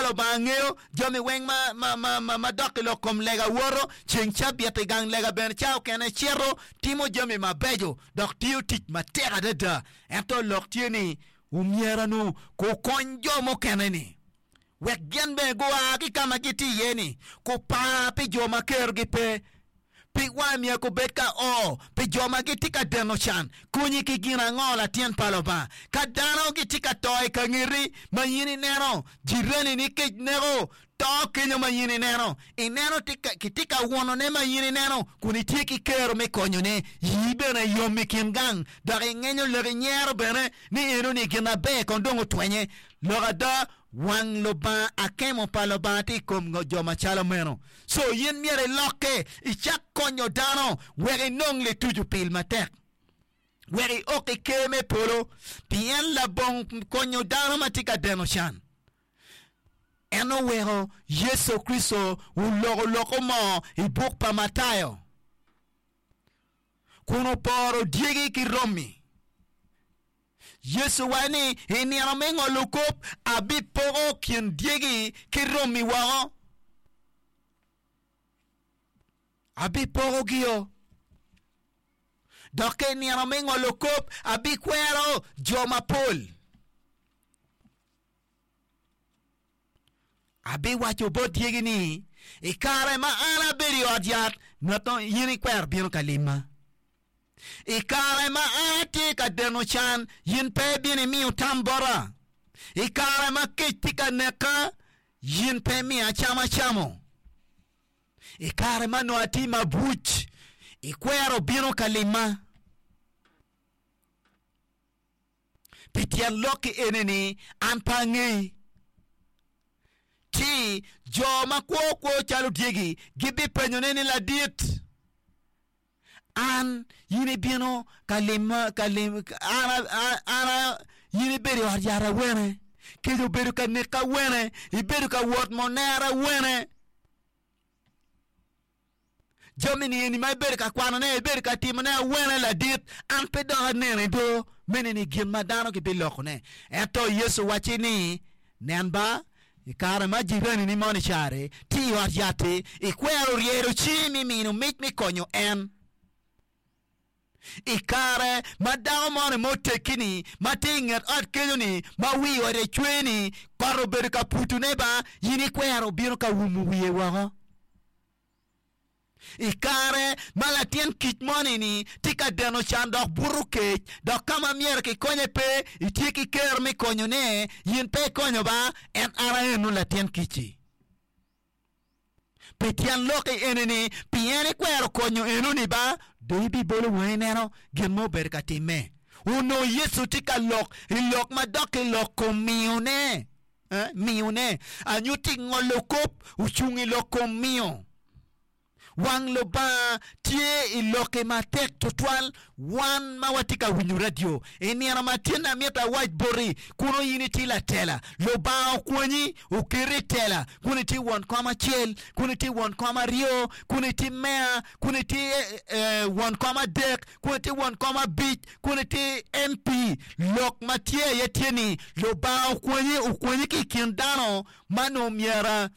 Lubanga ngeyo jami weng ma, ma, ma, ma, ma dok i lok kom lega woto, ceng cabit i gang lega bene ca okene cito timo jami mabeco dok tiyo tic matek adada. Ento lok tye ni omyero-nu kukony jo mukene-ni wek gin bene gua ki ka ma gitye iye-ni, kupar pi jo ma kerogi pe. Pig wangi myero gubed ka o pi jo ma gitye ka deno can. Konyi ki gin ango, latin pa Lubanga? Ka dano gitye ka to i ka ngeti ma in ineno, jirani-ni kec neko, to kenyo ma in ineno, ineno kitye ka wonone ma in ineno kun itye ki kero me konyone, yii bene yom i kin gang dok ingenyo lok inyero bene ni enoni gin aber kong dong otwenye. Lok ada, Wang Lubanga, akemo pa Lubanga tye i kom jo macalo meno. Co in myero ilokke icak konyo dano wek inong lituco pil matek, wek iok i ker me polo, pien labong konyo dano ma tye ka deno can. En oweko Yecu Kricito oloko loko mo i buk pa Matayo kun oporo dyegi ki romi. Yecu owaco ni, I nino me ngolo kop, abipoko kin dyegi ki romi woko. Abipokogio. Dok ka i nino me ngolo kop, abikwero jo mapol. Abiwaco bot dyegi ni, 'I kare ma an abedo i ot yat, ngat mo in ikwero bino ka lima. I kare ma an atye ka deno can, in pe ibino imiyo tam bota. I kare ma kec tye ka neka, in pe imiya cam acamo. I kare ma onongo atye mabuc, ikwero bino ka lima. Pi tyen lokki ene ni, an pe angeyi. Ci jo ma kwo kwo calo dyegi gibipenyone ni, 'Ladit, an in ibino ka lima, ka lim, an, an, in ibedo i ot yat awene? Kec obedo ka neki awene? Ibedo ka wot monera awene? Jami-ni eni ma ibedo ka kwanone, ibedo ka timone awene ladit, an pe dok aneni do. Meno ni gin ma dano gibilokone. Ento Yecu owacci ni, Nen ba, i kare ma jiranini moni cari tye i ot yat-ti, ikwero ryedo cingi me mino mic me konyo en. I kare ma dako moni ma oteggi-ni, ma tye i nget ot kenyo-ni, ma wi ode cwer-ni, kot obedo ka putone ba, in ikwero bino ka wumo wiye woko. I kare ma latin kic moni-ni tye ka deno can dok buto kec, dok ka ma myero kikonye pe, itye ki kero me konyone, in pe ikonyo ba, en an aeno latin kic-ci. Pi tyen lok i eni-ni, pien ikwero konyo enoni ba, dong ibibolo wangi ineno gin ma obedo ka timme. Onongo Yecu tye ka lok i lok ma dok i lok kom miyone, eh, miyone. Anyutti ngolo kop ocung i lok kom miyo. Wang Lubanga tye i lokke matek tutwal. Wan ma watye ka winyo radio i nino ma tin amito awac boti kuno in itye latela. Lubanga okwanyi oketi i tela kun itye won kom acel, kun itye won kom aryo, kun itye meya, kun itye won kom adek, kun itye won kom abic, kun itye MP. Lok ma tye aye tye ni Lubanga okwanyi okwanyi ki i kin dano ma nongo myero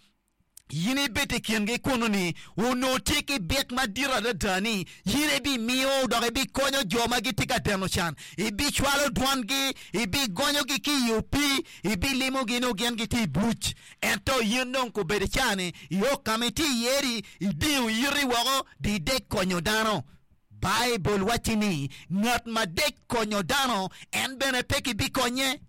In ibed i kingi kunnu-ni, onongo tye ki byek madit adada ni in ibimiyo dok ibikonyo jo ma gitye ka deno can. Ibicwalo dwangi, ibigonyogi ki i opii, ibilimogi nongo gin gitye i buc. Ento in dong kobedo i ca-ni, iok ka ma itye iye-ri, idingo iti woko, dong idek konyo dano. Baibul wacci ni, Ngat ma dek konyo dano, en bene pe kibikonye.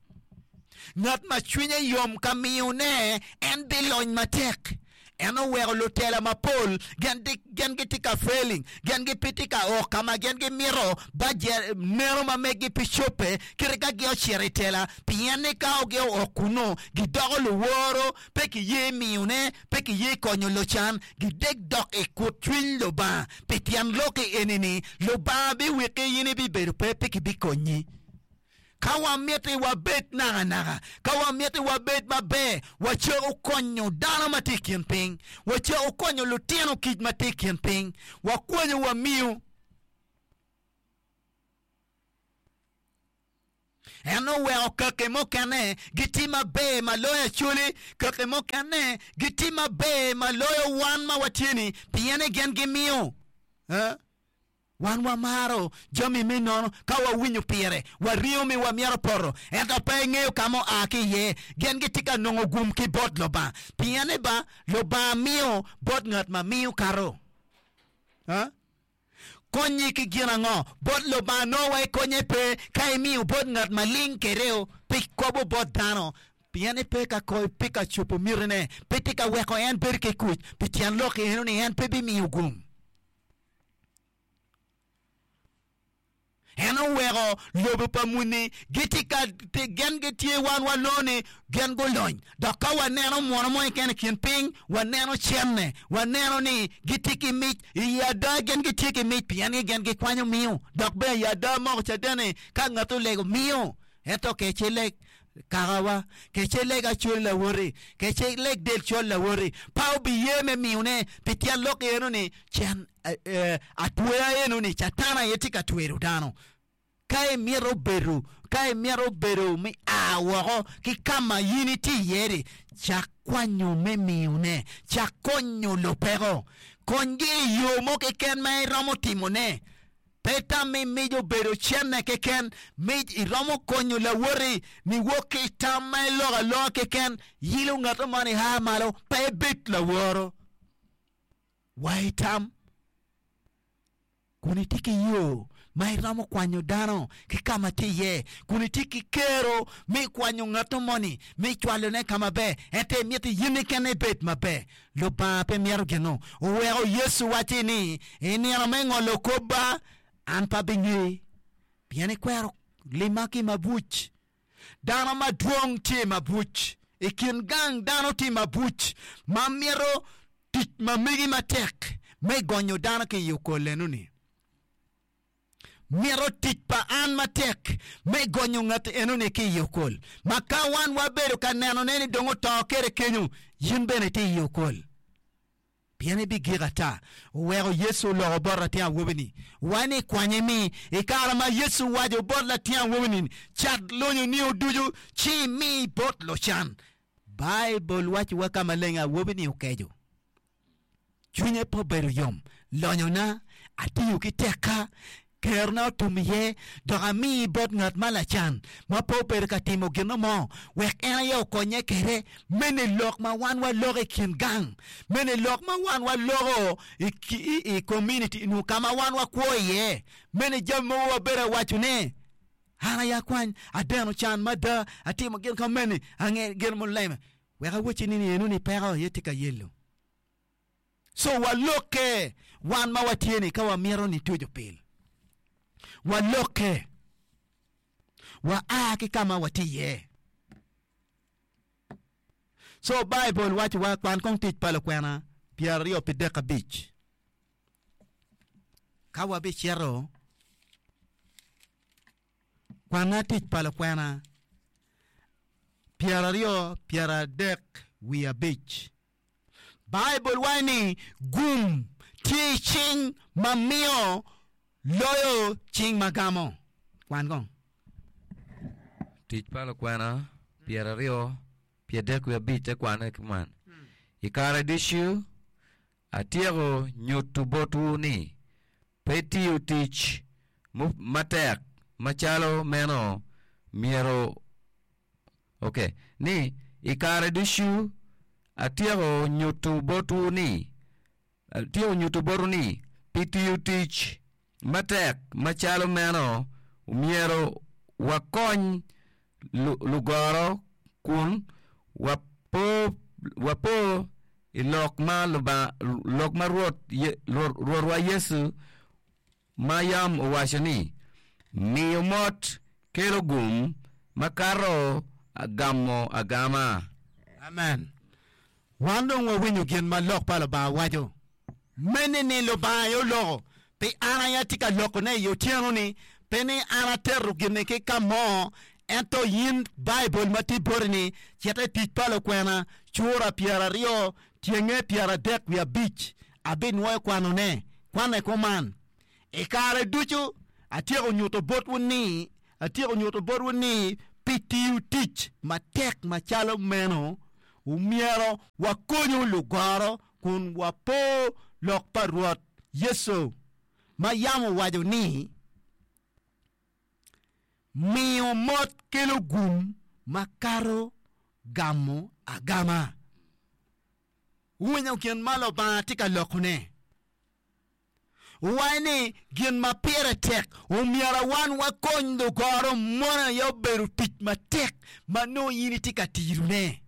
Ngat ma cwinye yom ka miyone, en bilony matek. En oweko lutela mapol gin gitye ka failing, gin gipe tye ka ok ka ma gin gimito bajet meno ma meggi pe cobbe kite ka gin ocito i tela pien ni ka gin ook kunnu gidoko luworo, pe kiye miyone, pe kiye konyo lucan, gidek dok i kut cwiny Lubanga. Pi tyen lok-ki eni-ni, Lubanga biwiki in ibibedo pe, pe kibikonyi. Ka wamiti wabed nakanaka, ka wamiti wabed maber, wacako konyo dano ma tye i kin piny, wacako konyo lutino kic ma tye i kin piny, wakwanyo wamiyo. En oweko kaki mukene gitye maber ma loyo Acholi, kaki mukene gitye maber ma loyo wan ma watye-ni, pien ni gin gimiyo. Wan wamaro jami me nono ka wawinyo pire, waringo mi wamito poto, ento pe ingeyo ka ma oa ki iye. Gin gitye ka nongo gum ki bot Lubanga, pien ni ba Lubanga miyo bot ngat ma miyo kato. Konyi ki gin ango? Bot Lubanga nongo wa ikonye pe ka imiyo bot ngat ma ling kede-o pi kobo bot dano, pien ni pe ka pe ka cobo mitine, pe tye ka weko en bedo ki kuc. Pi tyen lok eno ni en pe bimiyo gum. En oweko lobo pa muni gitye ka gin gitye wan walongo ni gin gulony dok ka waneno muno mo keken i kin piny waneno cente waneno ni gitye ki mic i ada gin gitye ki mic pien ni gin gikwanyo miyo dok bene i ada moko caden ni ka ngat olego miyo ento kec ileg kakawa kec ileg acol lawoti kec ileg del col lawoti pe obiye me miyone pi tyen lok eno ni cen Atweya eno ni Catan aye tye ka twero dano. Ka imito bedo, ka imito bedo me a woko ki ka ma in itye iye-ni, cak kwanyo me miyone, cak konyo lupeko. Konygi i yo mo keken ma iromo timone. Pe tam ni mic obedo cente keken. Mic iromo konyo lawoti niwok ki i tam ma iloko aloka keken, yilo ngat mo ni a malo, pe ibed laworo. Wa i tam kun itye ki yo ma iromo kwanyo dano ki ka ma tye iye, kun itye ki kero me kwanyo ngat moni me cwalone ka maber, ento imito in keken ibed maber. Lubanga pe mito gin-nu. Oweko Yecu wacci ni, I nino me ngolo kop-ba, an pe abingeyi, pien ikwero lima ki mabuc. Dano madwong tye i mabuc. I kin gang dano tye i mabuc ma mito tic ma megi matek me gonyo dano ki i okol eno-ni. Mito tic pa an matek me gonyo ngat eno-ni ki i okol. Ma ka wan wabedo ka nenone ni dong oto kede kenyo, in bene itye i okol. Pien ibigik ata. Oweko Yecu oloko bot latin awobi-ni wa ni, Kwanye mi. I kare ma Yecu owaco bot latin awobi-ni ni, Cat lonyoni ducu ci imi bot lucan, Baibul wacciwa ka maleng awobi-ni okeco. Cwinye pe obedo yom. Lonyona atiyo ki tekka, Kerona otum iye, dok ami bot ngat ma lacan, ma pe obedo ka timo gin mo, wek en aye okonye kwede. Mene lok ma wan waloko i kin gang? Mene lok ma wan waloko i komuniti nyo ka ma wan wakwo iye? Mene jami mogo wabedo awacone? An aye akwany, adeno can mada, atimo gin ka mene, ange gin muleme. Wek awacci ni enoni peko aye tye ka yelo. Co walokke wan ma watye ni ka wamito ni tuco pil. Walokke. Wa a ki ka ma watye iye. Co Baibul waco wa kwan kong tic pa lukwena pyeraryo pi dek abic. Ka wabicito kwana tic pa lukwena pyeraryo pyeradek wiye abic. Baibul waco ni gum tye i cing ma miyo loyo cing ma gamo. Kwan kong. Tic pa Lukwena pyeraryo pyerdek wiye abic te kwane kuman, I kare ducu atyeko nyuto botwu ni pe tiyo tic matek macalo meno myero Ok, ni, I kare ducu atyeko nyuto botwu ni, atyeko nyuto botwu ni, pi tiyo tic matek macalo meno, myero wakony lugoro kun wapo, wapo i lok ma Lubanga, lok ma Rwot, Rwotwa Yecu ma yam owaco ni, 'Miyo mot kelo gum makato gamo agama. Amen. Wan dong wawinyo gin ma Lok pa Lubanga waco. Mene ni Lubanga aye oloko, pi an aye atye ka lokone i otyeno-ni, pe ni an ateto gin-ni ki ka mo, ento in Baibul ma tye boti-ni, cit i Tic pa Lukwena, cura pyeraryo, tyenge pyeradek wiye abic, abinwoyo kwanone. Kwanne kuman, I kare ducu atyeko nyuto botwu ni. Atyeko nyuto botwu ni pi tiyo tic matek macalo meno, omyero wakonyu lugoro kun wapo lok pa Rwot Yecu ma yam owaco ni, 'Miyo mot kelo gum makato gamo agama. Wuwinyo gin ma Lubanga tye ka lokone? Wuwaco ni gin ma pire tek omyero wan wakony lugoro mono aye obedo tic matek ma nongo in itye ka tirone.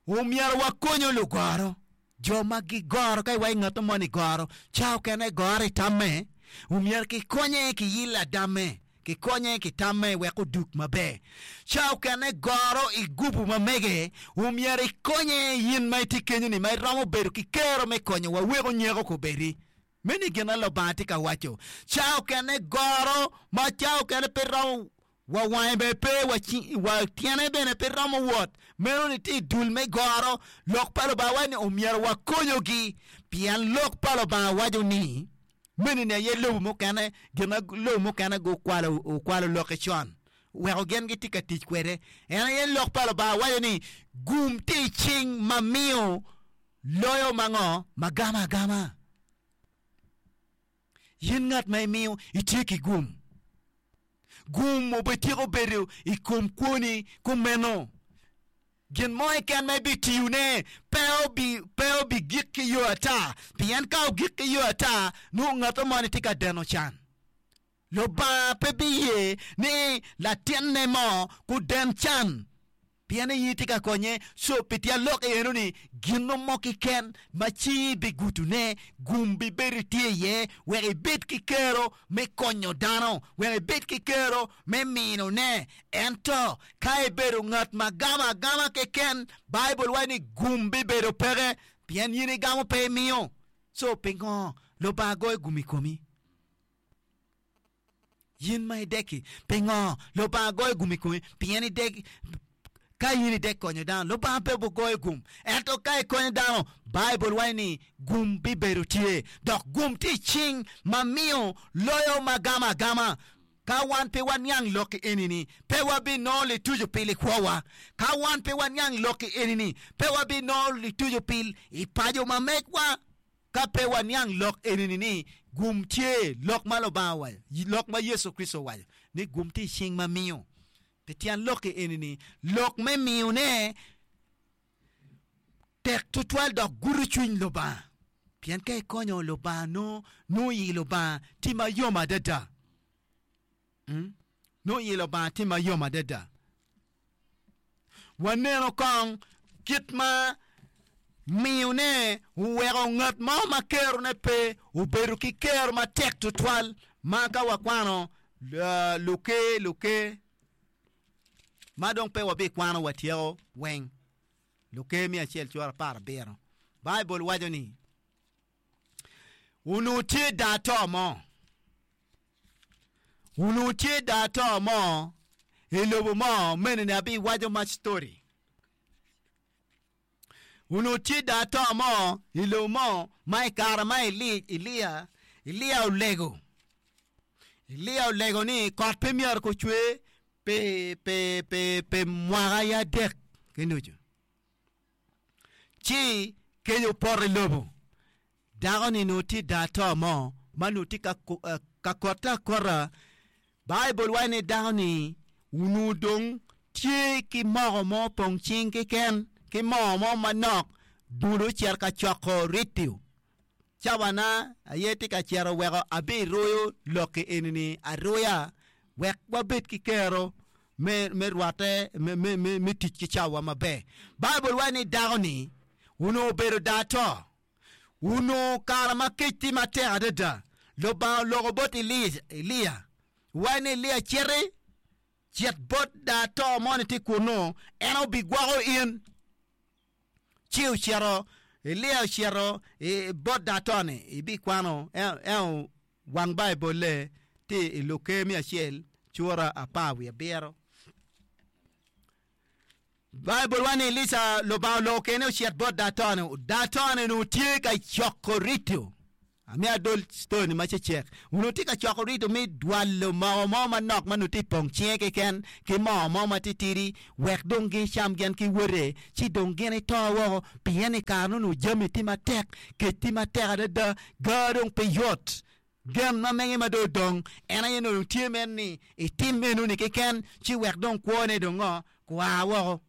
Omyero wakonyo lugoro, jo ma gigoro ka iwaco ngat mo ni goro, ca okene goro i tamme, omyero kikonye ki yil adamme, kikonye ki tamme wek odug maber. Ca okene goro i gubu ma mege, omyero ikonye in ma itye kenyo-ni ma iromo bedo ki kero me konyo wa wek onyeko kobedi. Meno gin ma Lubanga tye ka waco. Ca okene goro ma ca okene pe romo wa wange bene pe, wa tyene bene pe romo wot. Meno ni tye i dul me goro. Lok pa Lubanga waco ni omyero wakonyogi pien lok pa Lubanga waco ni meno ni aye lobo mukene, gin ma lobo mukene gukwalo okwalo lokke con weko gin gitye ka tic kwede. En aye lok pa Lubanga waco ni gum tye i cing ma miyo Loyo ma ngo ma gamo agama? In ngat ma imiyo itye ki gum. Gum obetyeko bedo i kom kwoni kumeno. Gin mo keken ma ibitiyone pe obi pe obigik ki yo ata, pien ka ogik ki yo ata, nongo ngat moni tye ka deno can. Lubanga pe biye ni latinne mo guden can pien ni in itye ka konye. Co pi tyen lok eno ni gin mo keken ma cingi bigutone, gum bibedo tye iye wek ibed ki kero me konyo dano, wek ibed ki kero me minone. Ento ka ibedo ngat ma gamo agama keken, Baibul waco ni gum bibedo peke pien in igamo pe imiyo. Co pingo Lubanga goyo gum i komi? In ma idek-ki, pingo Lubanga goyo gum i komi? Pien idek, ka in idek konyo dano, Lubanga pe obigoyo gum. Ento ka ikonyo dano, Baibul waco ni gum bibedo tye, dok gum tye i cing ma miyo loyo ma gamo agama. Ka wan pe waniang lok eni-ni, pe wabinongo lituco pi likwowa. Ka wan pe waniang lok eni-ni, pe wabinongo lituco pi i paco ma megwa. Ka pe waniang lok eni-ni ni gum tye, lok ma Lubanga owaco, lok ma Yecu Kricito owaco, ni gum tye i cing ma miyo. Pi tyen lok eni-ni, lok me miyone tek tutwal dok gudo cwiny Lubanga. Pien ka ikonyo Lubanga nongo, nongo i Lubanga tye mayom adada. Nongo i Lubanga tye mayom adada. Waneno kong kit ma miyone oweko ngat mo ma kerone pe obedo ki kero matek tutwal ma ka wakwano luker luker ma dong pe wabikwano watyeko weng. Luker me acel cura 17 Baibul waco ni, Onongo tye daa-to mo, onongo tye daa-to mo i lobo mo mene ni abiwaco ma story. Onongo tye daa-to mo i lobo mo ma i kare ma Elia, Elia olego, Elia olego ni kot pe myero ocwer pi, pi, pi, pi mwaka adek ki nucu. Ci kec opoto i lobo. Dako-ni onongo tye daa-to mo ma onongo tye ka kotte akota. Baibul waco ni dako-ni onongo dong tye ki moko mo pong cing keken ki moo mo manok dong ocito ka coko ritio. Cawana aye tye ka cito weko abiruyo lok-ki eni-ni aruya wek wabed ki kero me, me rwatte me, me, me, me tic ki cawa maber. Baibul waco ni dako-ni onongo obedo daa-to. Onongo kare ma kec tye matek adada, Lubanga oloko bot Elia, owaco ni, Elia citi, cit bot daa-to moni tye kunnu, en obigwoko in. Ci ocito, Elia ocito bot daa-to-ni, ibikwano, en Wang Baibulle tye i Luker me acel cura 17. Baibul waco ni Elica Lubanga oloko kene ocit bot dato-ni. Dato-ni onongo tye ka coko rito. Amiyo adol story ni macecek. Onongo tye ka coko rito me dwalo moko mo manok ma nongo tye i pong cinge keken ki moo mo matitidi wek dong gicam gin ki wote ci dong gin ito woko pien i kare nongo jami tye matek, kec tye matek adada, gar dong pe yot. Gen ma mege ma dong odong en aye nongo dong tye mere ni itim enoni keken ci wek dong kwone dong ngo kua woko.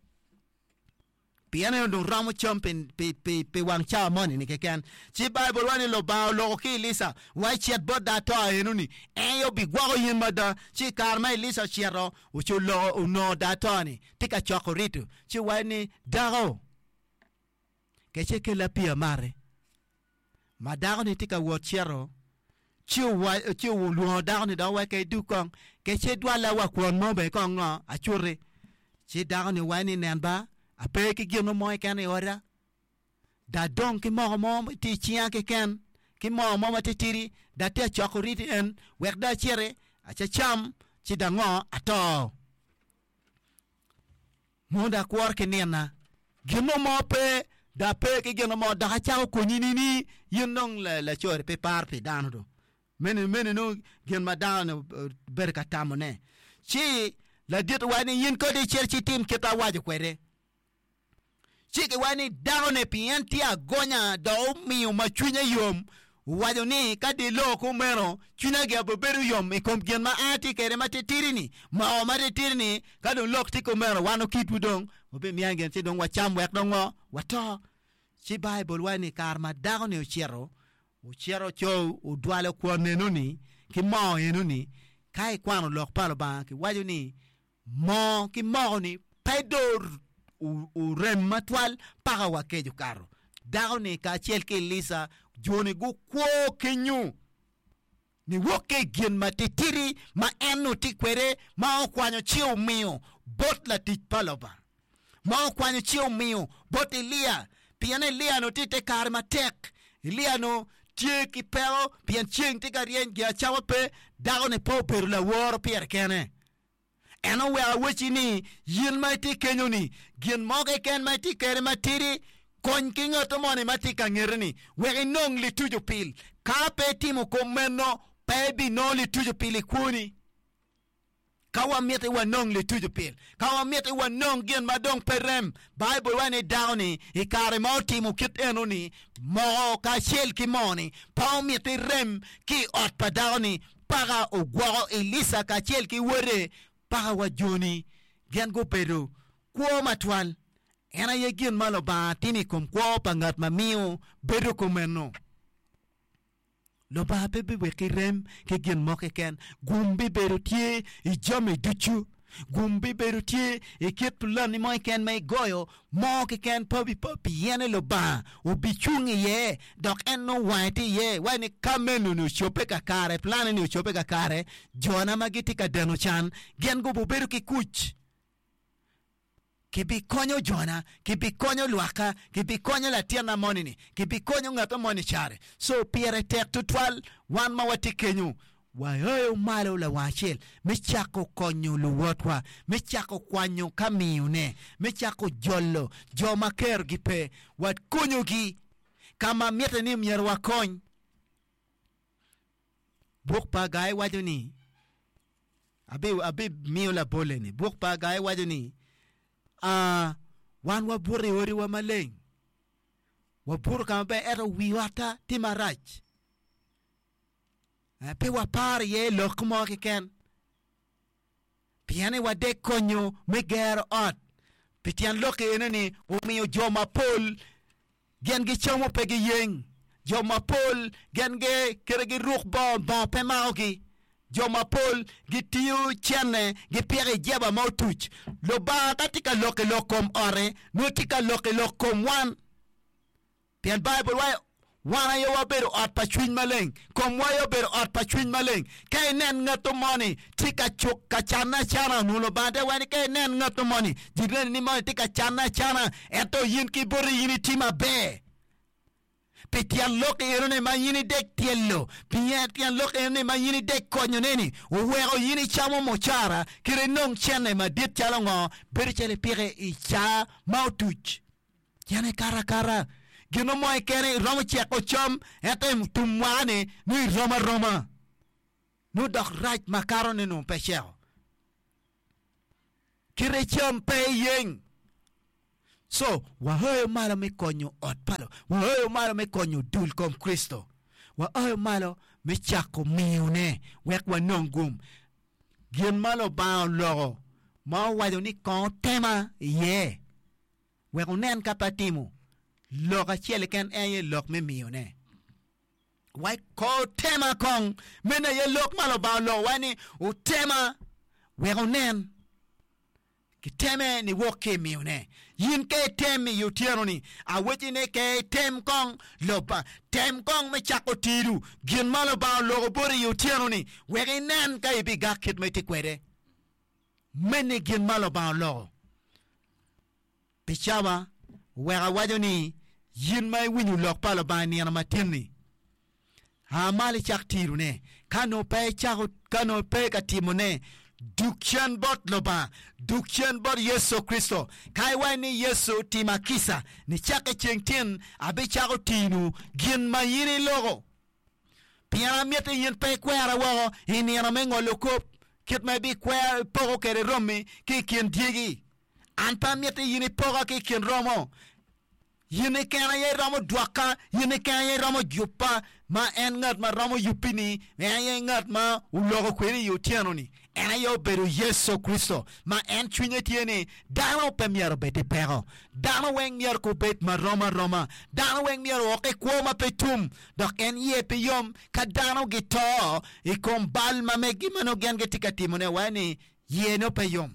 Pien en onongo romo cam pi wang cawa moni-ni keken. Ci Baibul waco ni Lubanga oloko ki Elica, wa icit bot dato eno-ni, en aye obigwoko in mada. Ci i kare ma Elica ocito, oci oloko, onongo dato-ni tye ka coko rito. Ci owaco ni, Dako, kece kella pii amati. Ma dako-ni tye ka wot cito, ci owaco, ci olwongo dako-ni dok owacce idug kong, kece idwalla wa kwon mo bene kong ngo, acuti. Ci dako-ni owaco ni, Nen ba, ape ki gin mo keken i oda, dong adong ki moko mo ma tye i cinga keken, ki moo mo matitidi, dong atye ka coko riti en, wek dong aciti, acacam, ci dong ngo, ato. Mondo akwor ki nina. Gin mo pe, dong ape ki gin mo, dok acako konyi nini? In dong laco-ri pe iparo pi dano do. Meno meno nongo gin ma dano-ni obedo ka tamone. Ci ladit owaco ni, In kodi icit ci itim kit ma awaco kwede. Ci kiwaco ni dako-ni pien tye agonya dok omiyo ma cwinye yom, owaco ni, Ka dong iloko kumeno, cwinya gire bibedo yom i kom gin ma an atye kwede ma titidi-ni, moko ma titidi-ni. Ka dong lok tye kumeno, wan okitwu dong wabimiya gin ci dong wacam wek dong ngo? Wato. Ci Baibul waco ni i kare ma dako-ni ocito, ocito co odwalo kwon enoni ki moo enoni. Ka ikwano lok pa Lubanga, kiwaco ni Moo ki moko-ni pe dong orem matwal paka wa kec okato. Dako-ni kacel ki Elica jo-ni gukwo kenyu niwok ki i gin matitidi ma en onongo tye kwede ma okwanyo ci omiyo bot latic pa Lubanga, ma okwanyo ci omiyo bot Elia, pien Elia onongo tye i te kare matek. Elia onongo tye ki peko pien ceng tye ka ryeny, gin acama pe, dako-ni pe obedo laworo pire kene. En oweko awacci ni, 'In ma itye kenyo-ni, gin mo keken ma itye kwede matidi, kony ki ngat moni ma tye ka ngeti-ni, wek inong lituco pil. Ka pe itimo kop meno, pe ibinongo lituco pil i kwoni. Ka wamiti wanong lituco pil, ka wamiti wanong gin ma dong pe rem, Baibul waco ni dako-ni i kare ma otimo kit eno-ni, moko kacel ki moo-ni, pe omiti rem ki i ot pa dako-ni, Paka ogwoko Elica kacel ki wode paka wa joni gin gubedo kwo matwal. En aye gin ma Lubanga timo i kom kwo pa ngat ma miyo bedo kumeno. Lubanga pe biweki rem ki gin mo keken. Gum bibedo tye i jami ducu. Gum bibedo tye i kit pulanni mo keken ma igoyo, mo keken pe pien ni Lubanga obicung iye dok en nongo wange tye iye. Iwaco ni ka meno-ni ocobbe kakare, pulanni-ni ocobbe kakare, jona ma gitye ka deno can gin gubibedo ki kuc. Kibikonyo jona, kibikonyo lwakka, kibikonyo latinna moni-ni, kibikonyo ngat moni care. So pire tek tutwal wan ma watye kenyo waoyo malo lawang acel me cako konyo luwotwa, me cako kwanyo ka miyone, me cako jolo jo ma kerogi pe, wakonyogi ka ma mitte ni myero wakony. Buk pa Agai waco ni, Abimiyo labolle ni, buk pa Agai waco ni, Aa, wan wabuto i odiwa maleng, wabuto ka maber, ento wi otta tye marac. Pe waparo iye lok mo keken. Pien ni wadek konyo me gero ot. Pi tyen lok eno ni omiyo jo mapol gin gicamo pe giyeng. Jo mapol gin kite giruk bongo, bongo pe makogi. Jo mapol gitiyo cene gipiko i jeba ma otuc. Lubanga ka tye ka lok i lok kom ote, nongo tye ka lok i lok kom wan. Pien Baibul waco, Wan aye wabedo ot pa Cwiny Maleng, komwa aye obedo ot pa Cwiny Maleng. Ka inen ngatto moni tye ka cuk ka canne acana, onongo Lubanga te waco ni ka inen ngatto moni, jirani ni moni tye ka canne acana, ento in ki boti in itye maber. Pi tyen lok enoni ma in idek tyelo, pi tyen lok enoni ma in idek konyone-ni, oweko in icamo mucara kit inong cente madit calo ngo, bedo calo ipike i caa ma otuc. Cen ikato akata. Gin mo keken iromo ceko cam, ento i tum mwaka-ni nongo irom aroma. Nongo dok rac makato ni nongo pe ceko. Kite cam pe iyeng. Co, waoyo malo me konyo ot pa Lubanga. Waoyo malo me konyo dul kom Kricito. Waoyo malo me cako miyone wek wanong gum. Gin ma Lubanga oloko ma owaco ni kong otema iye wek onen ka pe atimo, lok acel keken en aye lok me miyone. Wek kong otema kong. Meno aye lok ma Lubanga oloko waco ni otema wek onen. Kiteme niwok ki i miyone. In ka item i otyeno-ni, awecci ni ke item kong Lubanga. Tem kong me cako tido gin ma Lubanga oloko boti i otyeno-ni wek inen ka ibigak kit ma itye kwede. Mene gin ma Lubanga oloko. Pi cawa, wek awaco ni, yin ma iwinyo lok pa Lubanga i nino matin-ni, A malo icak tirone. Ka nongo pe icako, ka nongo pe ka timone, dug cen bot Lubanga, dug cen bot Yecu Kricito. Ka iwaco ni, Yecu, tima kica, nicakke ceng tin abicako tino gin ma in iloko. Pien amiti in pe ikwera woko i nino me ngolo kop, kit ma ibikwero, ipoko kwede romi ki i kin dyegi. An pe amiti in ipoka ki i kin romo. In keken aye iromo dwoka, in keken aye iromo jubba, ma en ngat ma romo yubbi-ni, en aye ngat ma oloko kwedi i otyeno-ni, en aye obedo Yecu Kricito, ma en cwinye tye ni dano pe myero obed i peko, dano weng myero gubed marom aroma, dano weng myero ook i kwo ma pe tum, dok en iye pe yom ka dano gito i kom bal ma megi ma nongo gin gitye ka timone, waco ni iye nongo pe yom.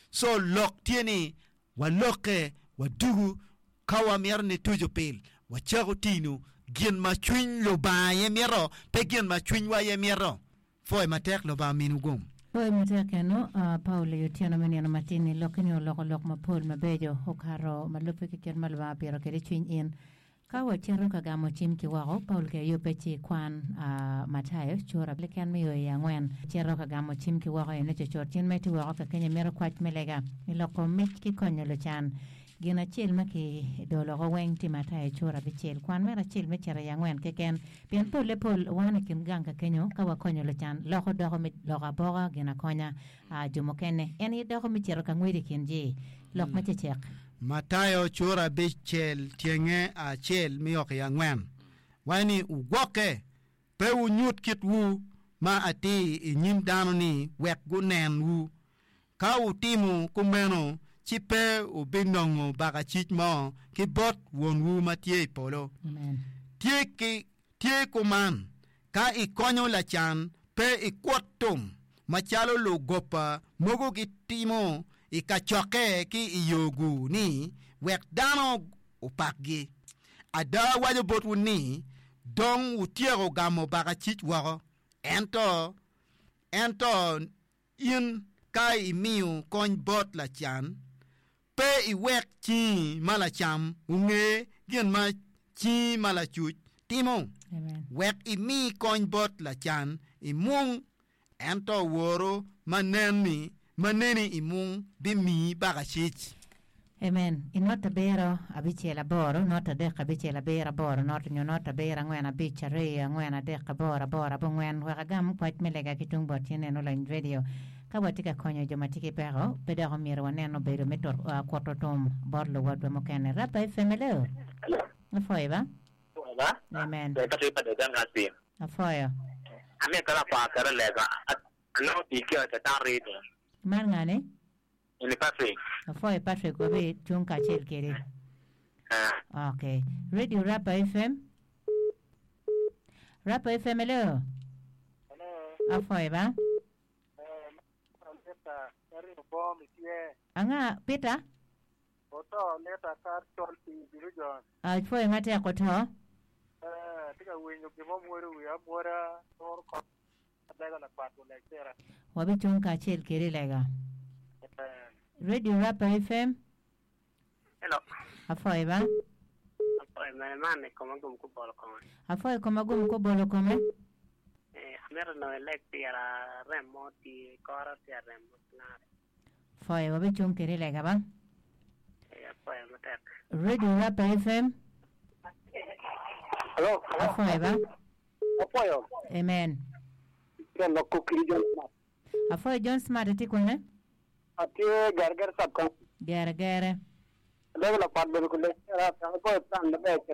Co lok tye ni Walokke, wadugu, ka wamito ni tuco pil, wacako tino gin ma cwiny Lubanga aye mito, pe gin ma cwinywa aye mito. Pwoyo matek, Lubanga ominiwu gum. Pwoyo matek eno, Paulo i otyeno me nino matin-ni, lokki-ni oloko lok mapol mabeco okato ma lubbe ki kit ma Lubanga opito kwede cwiny in. Ka wacito ka gamo cim ki woko, Paulo ki ayubbe ci kwan Matayo cura keken me yo i angwen. Cito ka gamo cim ki woko eno cucut. Cin ma itye woko ka kenyo imito kwac me lega, i loko mic ki konyo lucan. Gin acel ma ki doloko weng tye Matayo cura abicel. Kwan mere acel me cito i angwen keken. Pien polle pol wan i kin gang ka kenyo ka wakonyo lucan, loko doko me loko aboka gin akonya jo mukene. En aye doko me cito ka ngwec i kin ji. Lok me cecek. Matayo cura abicel tyenge acel me o ki angwen waco ni, Wugwokke, pe wunyut kitwu ma atir i nyim dano ni wek gunenwu. Ka wutimo kumeno, ci pe wubinongo bakacic mo ki bot Wonwu ma tye i polo. Tye ki Tye kuman, ka ikonyo lacan, pe ikwot tum, macalo lugopa mogo gitimo i kacokke ki i yo-gu ni wek dano opakgi. Ada awaco botwu ni, dong wutyeko gamo bakacic woko. Ento, ento in ka imiyo kony bot lacan, Pe iwek cingi ma lacam onge gin ma cingi ma lacuc timo, wek imi kony bot lacan i mung, ento Woru ma neni i mung bimiyi bakacic. Amen. I not abiro, abicel, aboro, not adek, abicel, abiro, aboro, not nyo not abiro, angwen, abic, aryo, angwen, adek, aboro, aboro, abongwen, wek agam kwac me lega ki tung bot cen en olony radio. Ka watye ka konyo jo ma tye ki peko, pe dok omyero wanen obedo me kuto tum bot luwotwa mukene. Rapa FM, hello. Apwoyo ba. Amen. Apwoyo. Man ngane? Apwoyo Patrick, wabi cung kacel kedi. Okay. Radio Rapa FM. Rapa FM, hello. Apwoyo ba. Anga, Peter? Apwoyo matek oto. Wabicung kacel kedi i lega. Radio Rapa FM. Apwoyo ba. Apwoyo koma gum kubolo kome. Pwoyo wabicung kedi i lega ba. Radio Rapa FM. Hello. Apwoyo ba. Apwoyo. Amen. Tye lok kiri John Smart. Apwoyo John Smart itye kwene? Atye Gerger sub county. Gere gere. Alego lakwat bedo kule. Era, apwoyo plan maber.